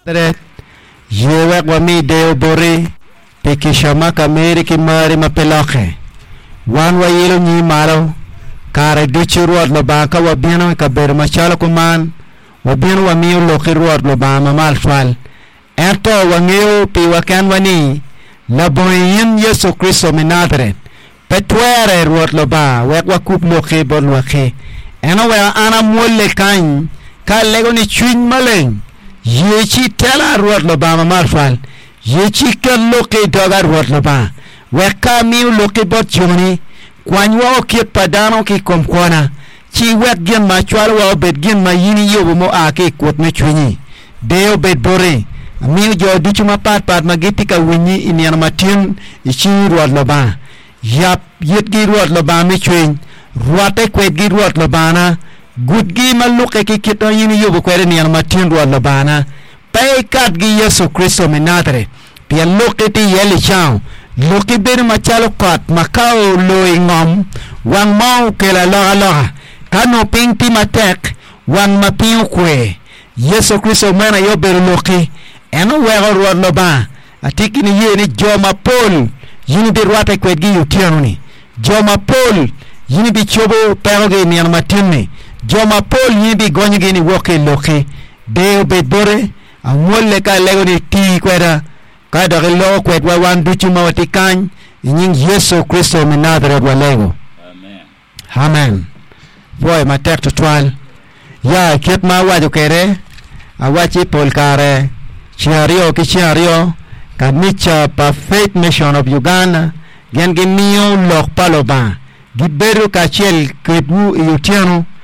Ye wek wami deyo boti pi kica ma ka meri ki mari ma pe lokke. Wan wayilo nyingi malo kare ducu, Rwot Lubanga, ka wabino i kabedo macalo kuman, wabino wamiyo lokki, Rwot Lubanga Mamalo Twal. Ento wangeyo piwa kenwa ni, labongo i in Yecu Kricito me Najaret, Pe twere, Rwot Lubanga, wek wakub lokki bot lwakki. En oweko an amwolle kany ka alego ni Cwiny Maleng, ye ci itela, Rwot Lubanga Mamalo Twal. Ye ci iket lokki i doga, Rwot Lubanga, wek ka amiyo lokki bot joni, kwany woko kit pa dano ki i kom kwona, ci iwek gin ma acwalowa obed gin ma in iyubo mua ki i kut me cwinyi. Deyo obed boti. Amiyo jo ducu mapatpat ma gitye ka winyi i nino ma tin i cingi, Rwot Lubanga. Yab yitgi, Rwot Lubanga me cwiny. Rwatte kwedgi, Rwot Lubangana. Gudgi ma lukke ki kit ma in iyubo kwede i nino ma tin, Rwot Lubangana. Pe ikatgi, Yecu Kricito me Najaret, pien lokki tye iye licango. Lokki bedo macalo kot ma ka oloo i ngom, wang mo okelo alokaloka. Ka nongo piny tye matek, wang ma piny okwe. Yecu Kricito meno aye obedo lokki. En oweko Rwot Lubanga. Atye ki niye ni jo mapol in ibirwatte kwedgi i otyeno-ni. Jo mapol in ibicobo pekogi i nino matin-ni. Jo mapol in ibigonyogi niwok ki i lokki. Deyo obed bote. Amwolle ka alego ni iti kweda, ka dok iloko kwedwa wan ducu ma watye kany, i nying Yecu Kricito me Najaret walego. Amen. Pwoyo matek tutwal. Ya, kit ma awaco kwede, awacci pol kare ceng aryo ki ceng aryo, kanica pa Faith Mission of Uganda gin gimiyo lok pa Lubanga. Gibedo kacel kwedwu i otyeno.